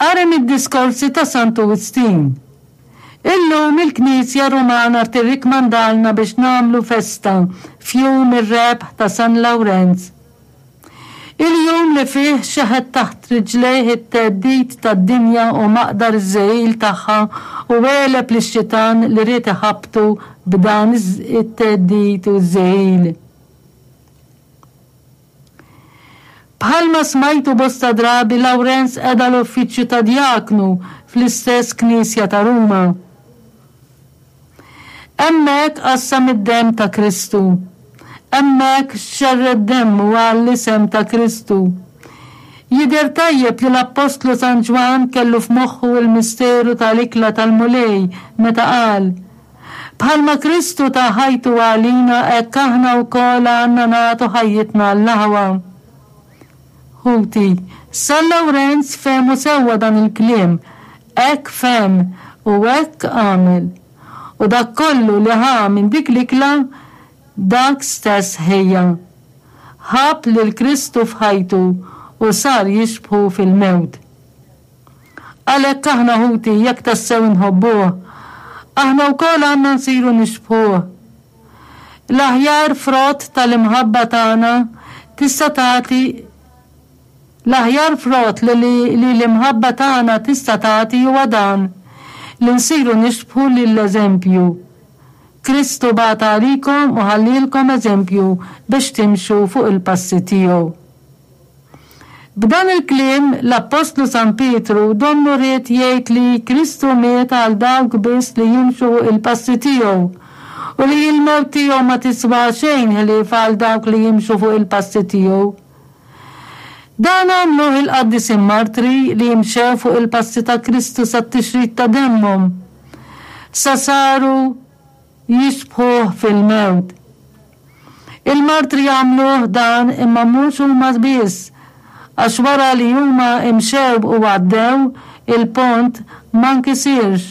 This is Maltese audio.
Qari mid-diskorsi ta' Santu Wistin. Illum il-Knisja Rumana tirrikmandalna biex nagħmlu festa f'jum ir-rebħ ta' San Lawrenz. Il-jum li fih xeħet taħt riġlejh it-theddid tad-dinja u maqdar iż-żegħil tagħha u għeleb lix-xitan li ried iħabbtu b'dan it-theddid u ż-żegħil. Bħalma smajtu bosta drabi Lawrenz qeda l-uffiċċju ta' djaknu fl-istess knisja ta' Ruma. Hemmhekk qassam id-demm ta' Kristu. Hemmhekk xerred demmu għall-isem ta' Kristu. Jidher tajjeb li l-Appostlu San Ġwann kellu f'moħħu l-misteru tal-ikla tal-Mulej meta qal, Bħalma Kristu ta ħajtu għalina hekk aħna wkoll għandna nagħtu ħajjitna għall-aħwa. Ħuti, San Lawrenz fehmu sewwa dan il-kliem, hekk fehem u hekk għamel. U dak kollu li ħa minn dik l-ikla, dak stess ħejja. Ħabb lil Kristu f'ħajtu u sar jixbħu fil-mewt. Għalhekk aħna ħuti, jekk tassew inħobbuh, aħna wkoll għandna nsiru nixbħuh. L-aħjar frott tal-imħabba tagħna tista' tagħti L-aħjar frott li li l-imħabba tagħna tista' tagħti huwa dan, li nsiru nixbħu lill-eżempju. Kristu bagħat għalikom u ħallielkom eżempju biex timxu fuq il-passi tiegħu. B'dan il-kliem, l-appostlu San Pietru donnu ried jgħid li Kristu miet għal dawk biss li jimxu fuq il-passi tiegħu u li l-mewt tiegħu ma tiswa xejn ħlief għal dawk li jimxu fuq il-passi tiegħu. Dan għamluh il-qaddisin martri li mxew fuq il-passi ta' Kristu sat-tixrid ta' demmhom, sa saru jixbħuh fil-mewt. Il-martri għamluh dan imma mhux huma biss, għax wara li huma imxew u għaddew, il-pont ma nkisirx.